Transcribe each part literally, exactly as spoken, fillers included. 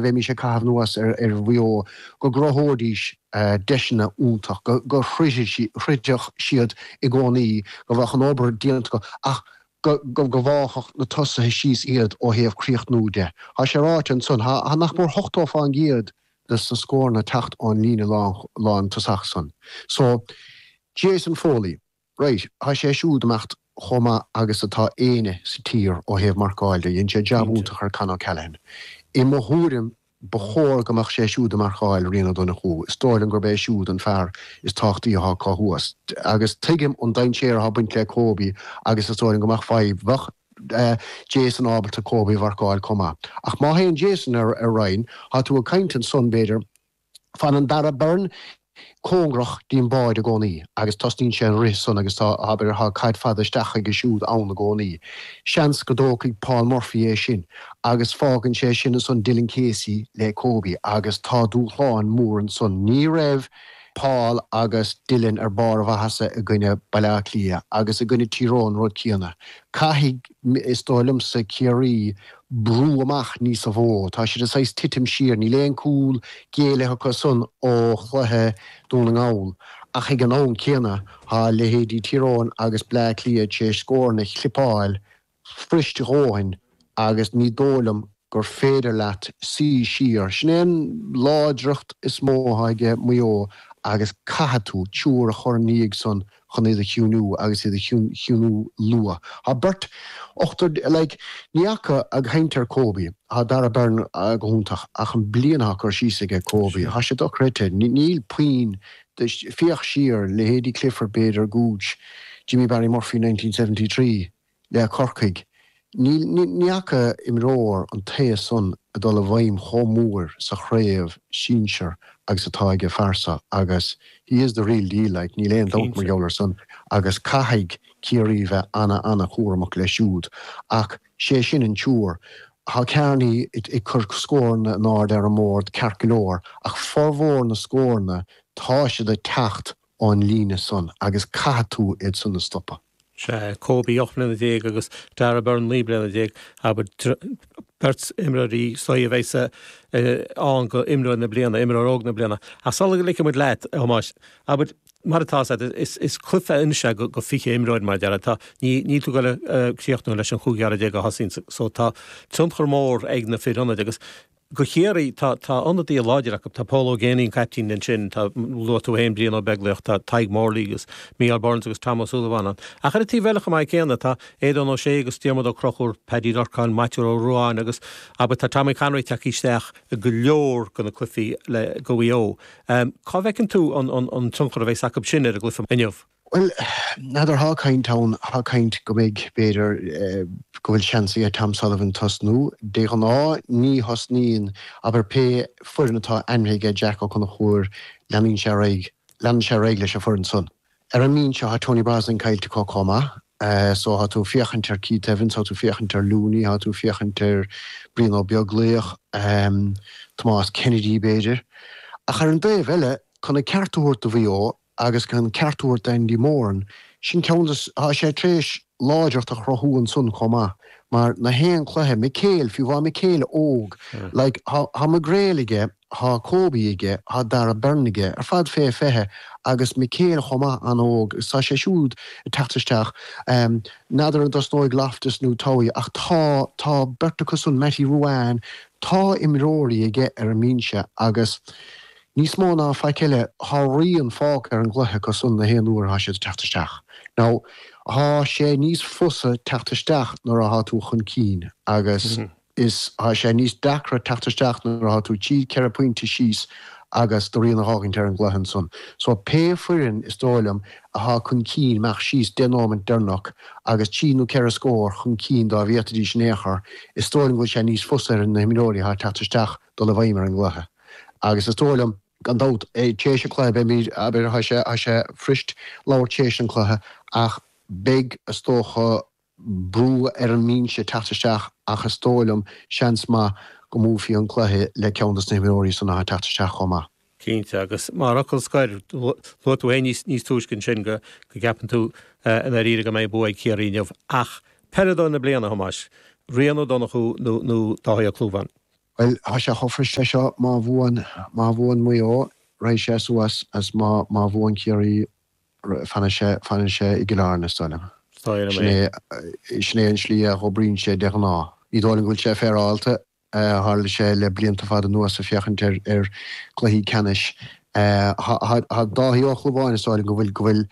Bheimis ag caitheamh anuas ar ar Mhaigh Eo go gcruthóidís deiseanna iontach, go go throidfeadh siad i gcónaí, go bheadh an obair déanta acu ach go go go bhfágfadh na tosaithe síos iad ó thaobh críochnú de. Tá sé ráite ansan, tá nach mór ochtó fán gcéad de na scóranna ag teacht ón líne lán tosach san. So, Jason Foley, right, tá sé siúd imeacht chomh maith agus atá éinne sa tír ó thaobh marcáil de, dhein sé jab iontach ar Con O'Callaghan. I mo thuairim, ba chóir go mbeadh sé siúd ag marcáil Rian Ó Donnchú. Is dóigh liom gurb é siúd an fear is tábhachtaí atá acu thuas. Agus tuigim an dainséar atá ag baint le Kobe agus is dóigh liom go mbeadh fadhb, bheadh Jason ábalta Kobe a mharcáil chomh maith. Ach má théann Jason ar ar Ryan, tá tú ag caint ansan b'fhéidir, fanann Darragh Beirne cóngarach dtí'n báide i gcónaí agus tosnaíonn sé an rith san agus tá, abair, tá caid fada isteach aige siúd ann i gcónaí. Seans go dtógfaidh Paul Murphy é sin agus fágann sé sin ansan Dylan Casey le Kobe agus tá dúshlán mór ansan. Ní raibh Paul agus Dylan ar barr a mhaitheasa i gcoinne Baile Átha Cliath agus i gcoinne Tír Eoghain an rud céanna. Caithfidh, is dóigh liomsa, Ciarraí brú amach níosa mhó. Tá siad ag saghas titim siar. Níl aon cúl géillithe acu san ó chluiche Dún na nGall. Ach ag an am céanna tá leithéidí Tír Eoghain agus Bleá Cliath tar éis scóranna a chlipeáil fuirist a dhóthain agus ní dóigh liom gur féidir leat suí siar. Sin é an láidreacht is mó atá aige Maigh Eo agus caithfidh tú triúr a chur ina ndiaidh san chun iad a chiúnú agus iad a chiúnú luath. Tá beirt, ochtar, like, ní fhaca ag caint ar Kobe, tá Darragh Beirne go hiontach ach an bliain atá curtha síos aige Kobe, tá sé dochreidte. Níl puinn, féach siar, leithéidí Clifford, b'fhéidir, Gooch, Jimmy Barry Murphy nineteen seventy three le Corcaigh. Níl, ní fhaca imreoir an taos san ag dul i bhfeidhm chomh mór sa chraobh sinsir agus atá ag an fear seo agus he is the real deal, like, níl aon dabht mar gheall ar san agus caithfidh Ciarraí bheith ana-ana-chúramach leis siúd. Ach sé sin an triúr. Tá Kearney ag cur scóranna in airde ar an mbord ceart go leor ach formhór na scóranna tá siad ag teacht ón líne san agus caithfidh tú iad san a stopadh. Sea, Kobe ocht mbliana déag agus Darragh Beirne naoi mbliana déag, abair, beirt imreoirí is dóigh a bheas ann go imreoir na bliana, imreoir óg na bliana. Ach sula ligfidh muid leat, a Thomáis, abair, mar atá a fhios agat, is, is cluiche anois é go, go fiche imreoir mar a déarfá. Tá, ní, níl tú ag dul a críochnú leis an chúigear déag a thosaíonn, so tá tionchar mór ag na fir ionaid agus Go Chiarraí, tá tá ionadaithe láidir acu, tá Pól Ó Géibheannaigh an caiptín ansin, tá, luaigh tú féin Brian Ó Beaglaoich, tá Tadhg Morley agus Mícheál Burns agus Tom Ó Súilleabháin ann. Ach ar an taobh eile chomh maith céanna, tá Aodán Ó Sé agus Diarmuid Ó Conchúir, Paddy Durcan, Maitiú Ó Ruadháin agus, abair, tá Tommy Conroy tagtha isteach i go leor de na cluichí le go Mhaigh Eo. Cá bhfeiceann tú an an an tionchar a bheas acu sin ar an gcluiche inniu? Bhuel, n'fheadar, thá caint ann, thá caint go mbeidh, b'fhéidir, go bhfuil seans aige Tom Sullivan tosnú. De ghnáth, ní thosnaíonn, abair, pé foireann atá ainmnithe aige Jack Ó Conchúir, leanann sé ar aghaidh, leanann sé ar aghaidh leis an foireann san. Ar an mbinse, thá Tony Brosnan caillte acu chomh maith, so thá tú ag féachaint ar Keith Evans, thá tú ag féachaint ar Looney, thá tú ag féachaint ar Brian Ó Beaglaoich, Tomás Kennedy, b'fhéidir. Ach ar an dtaobh eile, chun an ceart a thabhairt do Mhaigh Eo, Agus chun an ceart a thabhairt d'Andy Moran, sin ceann de, tá sé tar éis láidreacht a chruthú ansan chomh maith, mar na haon cluiche, McHale, fiú bhá McHale óg, like, thá, thá McGrail aige, thá Kobe aige, thá Darragh Beirne aige, ar fad fé fiche, agus McHale chomh maith an-óg, agus tá sé siúd ag teacht isteach, n'fheadar an dtosnóidh Loftus nó Towey, ach tá, tá beirt acu san, Mattie Ruane, tá imreoirí aige ar an mbinse agus, Níos mó ná faic eile, thá rian fágtha ar an gcluiche acu san na haon uair athá siad ag teacht isteach. Now, thá sé níos fusa teacht isteach nuair athá tú chun cinn agus is thá sé níos deacra teacht isteach nuair athá tú trí, ceithre pointe síos agus do rian a dh'fhágaint ar an gcluiche ansan. So, pé foireann, is dóigh liom, athá chun cinn, amach síos deich nóimint deireanach agus trí nó ceithre scór chun cinn dá bhféadfaidís in aon chor, is dóigh liom go bhfuil sé níos fusa ar na himreoirí athá ag teacht isteach dul i bhfeidhm ar an gcluiche. Agus is dóigh liom, gan dabht, tar éis an chluiche, beimid, abair, tá sé, tá sé fuirist labhairt tar éis an chluiche, ach beidh, is dócha, brú ar an mbinse teacht isteach ach is dóigh liom, seans maith go mbuafaí an cluiche le ceann de na himreoirí san atá ag teacht isteach chomh maith. Cinnte, agus mar fhocal scoir, luaigh tú féin níos, níos túisce ansin go, go gceapann tú i ndáiríre go mbeidh bua ag Ciarraí inniu. Ach peileadóir na bliana, a Thomáis, Rian Ó Donnchú nó, nó Dáithí Ó Clúmháin? Bhuel, tá sé chomh fuirist leis seo, má bhuann, má bhuann Maigh Eo, raghaidh sé suas agus má, má bhuann Ciarraí, fanann sé, fanann sé i gCill Airne, is dóigh liom. Is dóigh liom Sin é. é, sin é an slí a dh'oibríonn sé de ghnáth. Ní dóigh liom go bhfuil sé féaráilte, tharla sé le blianta fada anuas ag féachaint ar, ar chluichí ceannais. Tá Dáithí Ó Clúmháin, is dóigh liom go bhfuil, go bhfuil,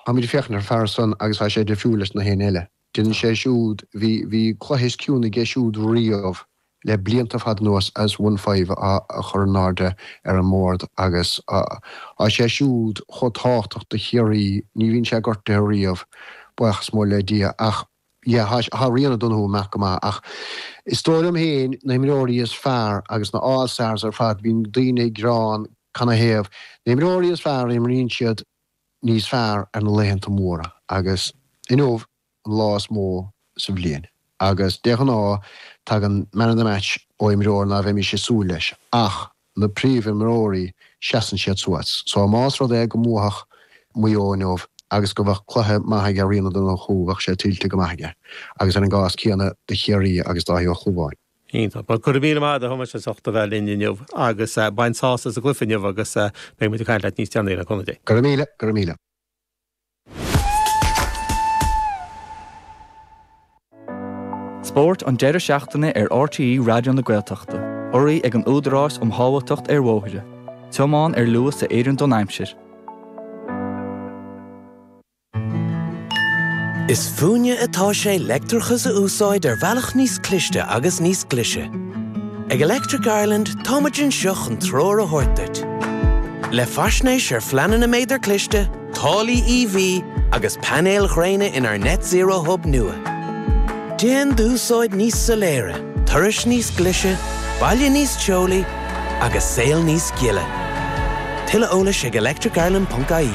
táimid ag féachaint ar fear san agus tá sé difriúil leis na héinne eile. Déanann sé siúd, bhí, bhí cluiche is ciúine aige siúd riamh le blianta fada anuas as one five a chur in airde ar an mbord agus tá sé siúd chomh tábhachtach do Chiarraí, ní bhíonn sé gortaithe riamh, buíochas mór le Dia, ach yeah, tá Rian O'Donoghue amach go maith ach is dóigh liom féin na himreoirí is fearr agus na All Stars ar fad, bíonn daoine ag gearán canathaobh, na himreoirí is fearr imríonn siad níos fearr ar na laethanta móra agus inniu an lá is mó sa bhliain agus de ghnáth tagann man of the match ó imreoir ná bheimis ag súil leis ach na príomhimreoirí seasann siad suas. So más rud é go mbuafadh Maigh Eo inniu agus go bheadh cluiche maith aige Rian O'Donoghue bheadh sé tuillte go maith aige agus ar an gcás céanna do Chiarraí agus Dáithí Ó Clúmháin. Iontach. Bhuel, go raibh míle maith agat a Thomáis as ucht a bheith linn inniu agus bain sásamh as an gcluiche inniu agus beidh muid ag caint leat níos deireanaí le cúnamh Dé. Go raibh míle, go raibh míle. Spórt an deireadh seachtaine ar RTÉ Raidió na Gaeltachta, urraithe ag an Údarás um Shábháilteacht ar Bhóithre. Tiomáin ar luas a oireann don aimsir. Is fúinne atá sé leictreachas a úsáid ar bhealach níos cliste agus níos glaise. Ag Electric Ireland táimid anseo chun treoir a thabhairt duit. Le faisnéis ar phleananna méadar cliste, táillí EV agus painéil ghréine inár Net Zero Hub nua. Déan d'úsáid níos soiléire, turais níos glaise, baile níos teolaí agus saol níos gile. Tuilleadh eolais ag electricireland ponc ie.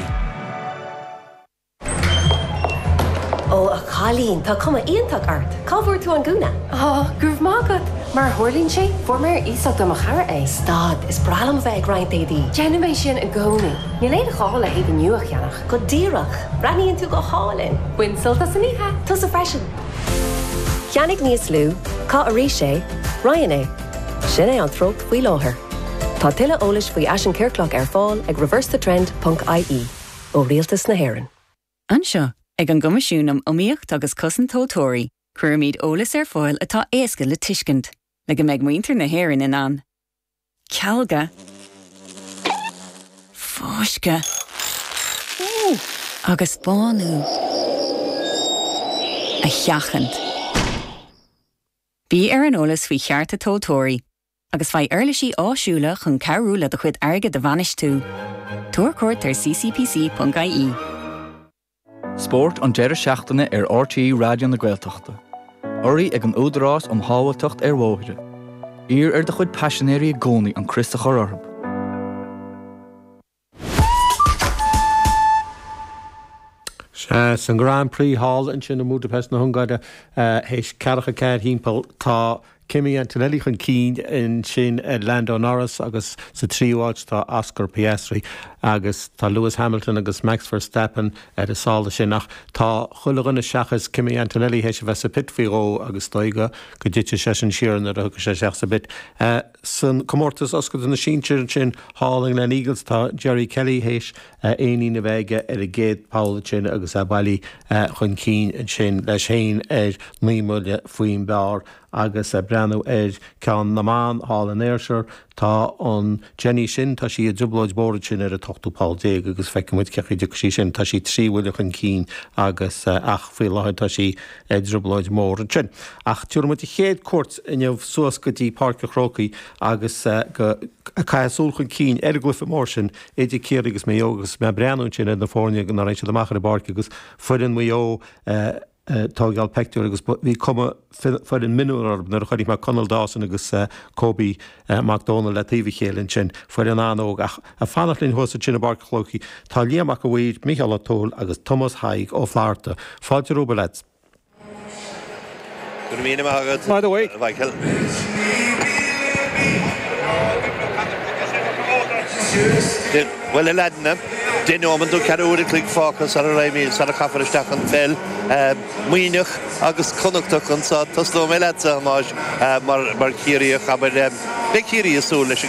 Ó, a chailín, tá cuma iontach ort. Cá bhfuair tú an gúna? Ó, go raibh maith agat. Mar a tharlaíonn sé, fuair mé ar iasacht ó mo chara é. Stad, is breá liom a bheith ag roinnt éadaí. Déanaim é sin i gcónaí. Níl aon ghá le héadaí nua a cheannach. Go díreach. Breathnaíonn tú go hálainn. Bain sult as an oíche. Tusa freisin. Ceannaigh níos lú, caith arís é, roinn é. Sin é an treocht faoi láthair. Tá tuilleadh eolais faoi fhaisean ciorclach ar fáil ag reversethetrend ponc ie ó Rialtas na hÉireann. Anseo, ag an gCoimisiún um Iomaíocht agus Cosaint Tomhaltóirí, cuirimid eolas ar fáil atá éasca le tuiscint, le go mbeidh muintir na hÉireann in ann cealga, fáisceadh agus bánú a sheachaint. Bí ar an eolas faoi chearta tomhaltóirí agus faigh uirlisí áisiúla chun cabhrú le do chuid airgid a bhainistiú. Tabhair cuairt ar ccpc ponc ie. Spórt an deireadh seachtaine ar RTÉ Raidió na Gaeltachta. Urraithe ag an Údarás um Shábháilteacht ar Bhóithre. Iarr ar do chuid paisinéirí i gcónaí an crios a chur orthu. Sea, san Grand Prix thall ansin i mBudapest na hUngáire, théis ceathracha ceathair thimpeall, tá Kimi Antonelli chun cinn ansin ar Lando Norris agus sa tríú háit tá Oscar Piastri agus tá Lewis Hamilton agus Max Verstappen ar a sála sin ach tá chuile dhuine seachas Kimi Antonelli théis a bheith sa pit faoi dhó agus dóigh go dtitfidh seisean siar nuair a thiocfaidh sé isteach sa bpit. San comórtas oscailte na sinsear ansin thall i nGleneagles tá Jerry Kelly théis éinín a bheith aige ar an gcéad pholl ansin agus é bailithe chun cinn ansin leis féin ar naoi mbuille faoin bpar agus ag breathnú ar ceann na mban thall in Ayrshire, tá an Jenny sin, tá sí i dtrioblóid mhór ansin ar an t-ochtú poll déag agus feicfidh muid cé chaoi a dtiocfaidh sí sin. Tá sí trí bhuille chun cinn agus ach faoi láthair tá sí i dtrioblóid mhór ansin. Ach tabharfaidh muid an chéad cuairt inniu suas go dtí Páirc an Chrócaigh agus go ag caitheamh súil chun cinn ar an gcluiche mór sin idir Ciarraí agus Maigh Eo agus mé ag breathnú ansin ar na foirne nuair a tháinig siad amach ar an bpáirc agus foireann Mhaigh Eo ag tógáil peictiúr agus bhí cuma foireann mionúr orthu nuair a chonaic mé Conall Dawson agus Kobe Mac Dónaill le taobh a chéile ansin, foireann an-óg ach ag fanacht linn thuas ansin i bPáirc an Chrócaigh tá Liam Mac a' Mhaoir, Mícheál Ó Tuathail agus Tomás Thaidhg Ó Flatharta. Fáilte romhaibh, a leaids. Go raibh míle maith agat, By the way. a Mhichael. Bhuel a leaideanna, deich nóiméad nó ceathrú uair a chloig fágtha sara raghaimid sara chaithfear isteach an pheil. Muimhneach agus Connachtach anseo tosnóidh mé leatsa a Thomáis mar mar Chiarraíoch abair beidh Ciarraí ag súil leis an